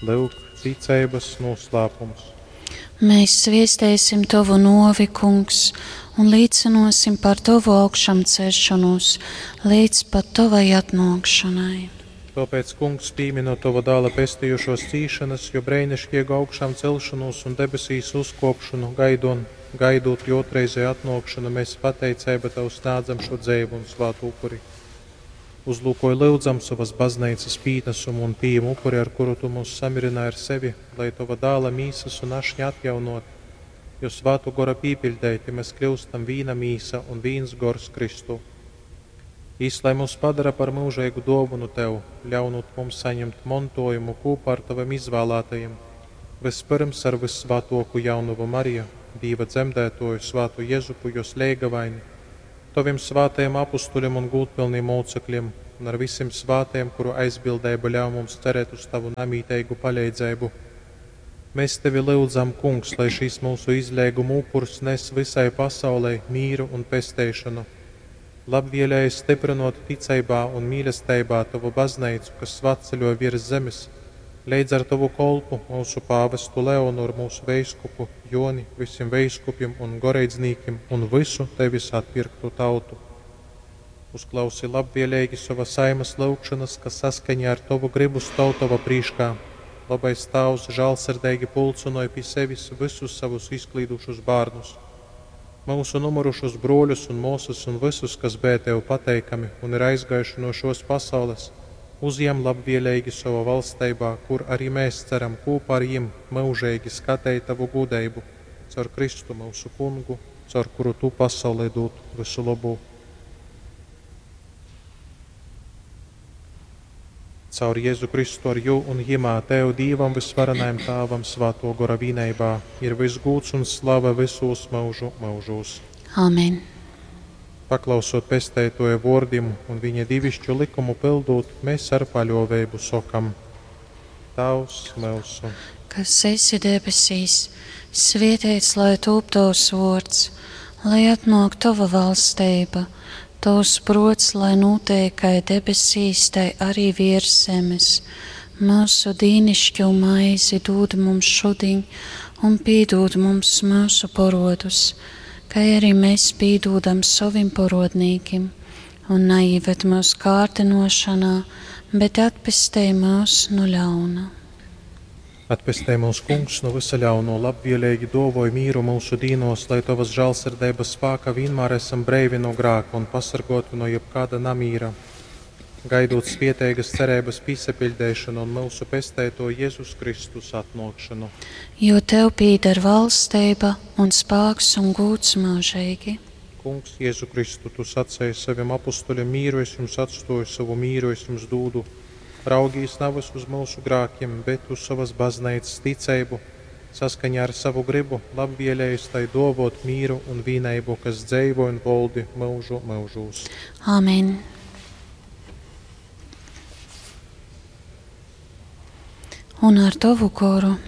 Lyuk, ticeibas nūslāpums. Mēs sviestēsim Tovu nōvi, Kungs, un līcynōsim par Tovu augšamceļšonūs līdz pat Tovai atnōkšonai. Tōpēc, Kungs, pīminot Tova Dāla pestījušōs cīšanas, jo breiniškiegu augšām celšanūs un debesīs uzkōpšonu gaidon, gaidūt jō otrreizēju atnōkšonu, mēs pateiceiba Tev snādzam šo dzeivu un svātu upuri. Uzlūkoj lyudzam sovas bazneicas pīnasumu un pījem upuri, ar kuru Tu mūs samirināji ar sevi, lai Tova Dāla mīsas un ašņa atjaunot, jo Svātu Gora pīpiļdeiti mēs kļūstam vīna mīsa un vīns gors Kristū. Jis, lai mūs padara par myužeigu dōvonu Tev, ļaunūt mums saņemt montojumu kūpā ar Tavim izvālātajiem, vyspyrms ar vyssvātōku jaunovu Mariju, Dīva dzemdētoju, svātu Jezupu, jos leigavaini, Tovim svātajiem apustuļiem un gūdpilniem mōcekļiem, un ar visim svātajiem, kuru aizbildeiba ļauj mums cerēt uz Tavu namīteigu paleidzeibu. Mēs Tevi lyudzam, Kungs, lai šīs mūsu izleiguma upurs nes visai pasaulei mīru un pesteišanu. Labvēlēji stiprinot ticeibā un mīlesteibā Tavu bazneicu, kas svatceļo virs zemes, leidz ar Tavu kolpu, mūsu pāvestu Leonoru, mūsu veiskupu Joni, visiem veiskupiem un goreidznīkiem un visu Tevis atpirktu tautu. Uzklausi labvēlīgi sova saimas lūgšanas, kas saskaņā ar Tavu gribu stov Tava prīškā. Labais Tāvs žālsirdīgi pulcinoja pie sevis visus savus izklīdušus bērnus, mūsu numurušus broļus un mūsas un visus, kas bija Tev pateikami un ir aizgājuši no šos pasaules, uzjem labvēlīgi savā valsteibā, kur arī mēs ceram kopā ar jim mūžīgi skatīt Tavu gudeibu, caur Kristu mūsu kungu, caur kuru Tu pasaulē dod visu labu. Caur Jēzu Kristu ar jū un jimā Tev, Dīvam vysvarenajam Tāvam, Svāto Gora vīneibā, ir viss gūds un slava visūs mūžu mūžūs. Amen. Paklausot pesteitoja vōrdim un viņa divišķu likumu pildūt, mēs ar paļoveibu sokam: Tavs myusu, kas esi debesīs, svietēts lai tūp tavs vārds, lai atnāk tava valstība, tavs prots, lai notiek kā debesīs, tai arī virs zemes. Mūsu dīnišķo maizi dod mums šodien, un piedod mums mūsu porodus, kā arī mēs piedodam savim porodnīkim, un neieved mūsu kārdinošanā, bet atpestī mūs no ļauna. Atpestē mūs, Kungs, no visa ļauno, labvēlīgi dovoj mīru mūsu dīnos, lai Tavas žālsirdības spāka vienmēr esam breivi no grāka un pasargoti no jebkāda namīra. Gaidot svieteigas cerības pīsapiļdēšanu un mūsu pestēto Jēzus Kristus atnākšanu. Jo tev pieder valstība un spēks un gūts mūžīgi. Kungs, Jēzu Kristu, Tu sacēji saviem apustuļiem mīru es jums atstoju, savu mīru es jums dūdu. Raugīs navas uz mūsu grākiem, bet uz savas baznīcas ticeibu, saskaņā ar savu gribu, labvēlējis tai dovot mīru un vīneibu, kas dzeivo un voldi mūžu mūžūs. Amen. Un ar tavu goru.